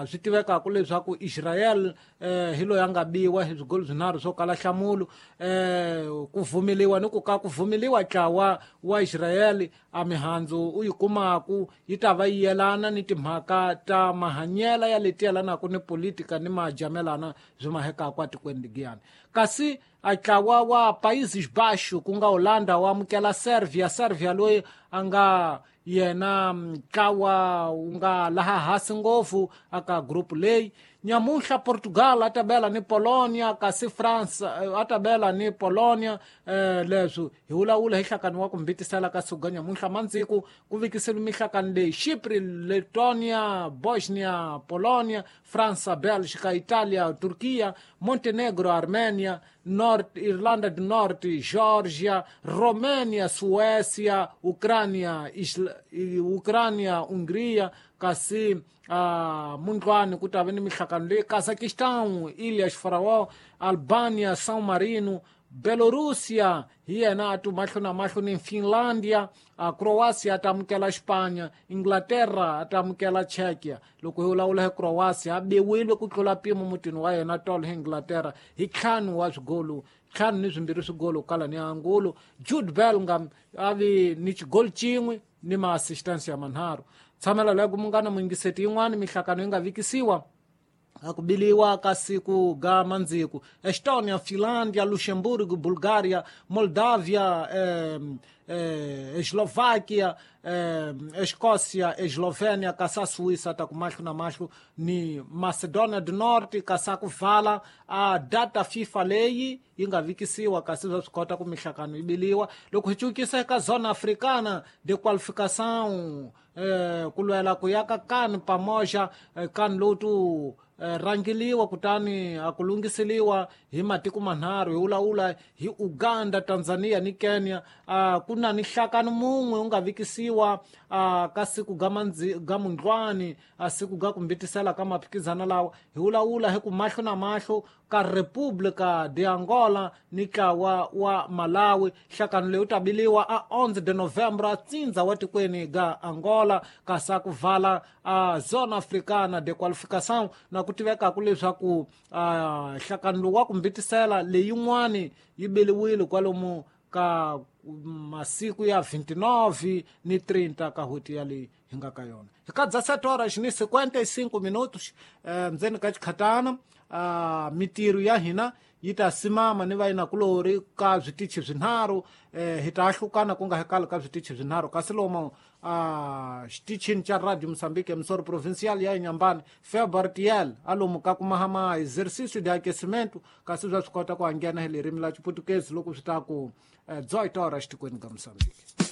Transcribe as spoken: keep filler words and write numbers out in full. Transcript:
Swi tivekaka leswaku Israel eh, hi loyi a nga biwa hi swigolo swinharhu swo kala nhlamulo. eh, ku vumeliwa ni ku ka ku vumeliwa ntlawa wa Israel a mihandzu u yi kumaku yi ta va yi yelana ni timhaka ta mahanyela ya leti yelanaka ni politika ni majamelana byi mahekaka atikweni ligiyani. Kasi a ntlawa wa Países Baixos ku nga Holanda wa amukela Serbia. Serbia loyi a nga yena ntlawa wu nga laha hansi ngopfu aka group leyi. Nyamuntlha Portugal a ta bela ni Polonia, kasi France a ta bela ni Polonia. eh, leswi hi vulavula hi nhlakano wa ku mbitisela ka suga nyamuntlha mandziku ku vikiseliwe mihlakano leyi: Chypre, Letonia, Bosnia, Polonia, França, Bélgica, Italia, Turquia, Montenegro, Armenia, North Irlanda do Norte, Georgia, Romênia, Suécia, Ucrânia, Isla, Ucrânia, Hungria, kasi uh, mundlwani ku ta va ni mihlakano leyi: Kazakhstan, Ilhas Faroe, Albania, São Marino, Belorusia hi yena a ti mahlo na mahlo ni Finlandia. uh, Croatia a ta amukela Xipanya, Inglaterra a ta amukela Czechia. Loko hi vulavula hi Croatia, a biwile ku tlula mpimo mutini wa yena tolo hi Inglaterra hi ntlhanu wa swigolo, ntlhanu ni swimbirhi swigolo kala ni angulo. Jude Bellingham a vi ni xigolo xin'we ni ma-assistance ya manharhu. Tshamela leyo munghana muyingiseti, yin'wani mihlakano yi nga vikisiwa a ku biliwa ka siku ga mandziku: Estonia, Finlandia, Luxemburgo, Bulgaria, Moldavia, eh, eh, Eslovaquia, eh, Escócia, Eslovênia, kasi a Suíça ta ku mahlo na mahlo ni Macedonia do Norte. Kasi a ku vala a data FIFA leyi yi nga vikisiwa, kasi swa swi kota ku mihlakano yi biliwa. Loko hi cukisa eka zona africana de qualificação, eh, ku lwela ku ya ka kan pamoja, eh, kan lowu tu eh, rangeliwa kutani a ku lunghiseliwa hi matiko manharhu, hi vulavula hi Uganda, Tanzania ni Kenya. uh, ku na ni nhlakano mun'we wu nga vikisiwa uh, ka siku ga mandzi ga mundlwani, a siku ga ku mbitisela ka maphikizana lawa, hi vulavula hi ku mahlo na mahlo ka República de Angola ni ntlawa wa Malawi. Nhlakano leyi wu ta biliwa a onze de novembro a tsindza wa tikweni ga Angola. Kasi a ku vala a zona africana de qualificação, na ku tivekaka leswaku nhlakano lowu wa ku mbitisela leyin'wani yi beliwile kwalomu ka masiku ya vinte e nove ni trinta ka n'hweti ya leyi hi nga ka yona. Hi ka dezessete horas ni cinquenta e cinco minutos, eh, ndzeni ka xikhatana, uh, mitirho ya hina yi ta simama ni vayinakulori ka switichi swinharhu. eh, hi ta ahlukana ku nga hekali ka switichi swinharhu, kasi lomo uh, xitichini xa Radio Moçambique, emissora provincial ya Inhambane, Febartiel alomu ka kumahama exercício de aquecimento, kasi swa swi kota ku anghena hi ririmi la Xiputukezi loko swi ta ku eh, dezoito horas tikweni ka Moçambique.